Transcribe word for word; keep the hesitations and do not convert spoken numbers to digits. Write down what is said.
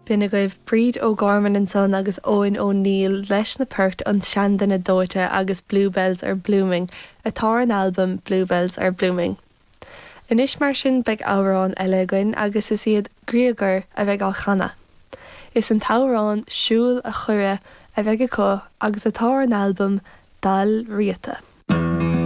B'in agaibh Bríd O'Gorman ansan agus Eoin O'Neill leis na poirt an Seanduine Dóite agus Bluebells are Blooming atá ar an albam Bluebells are Blooming. Anois mar sin beidh amhrán eile againn agus is iad Griogair a bheidh á chanadh. Is an t-amhrán Siúil a Choire a bheidh acu agus atá ar an albam Dal Riata.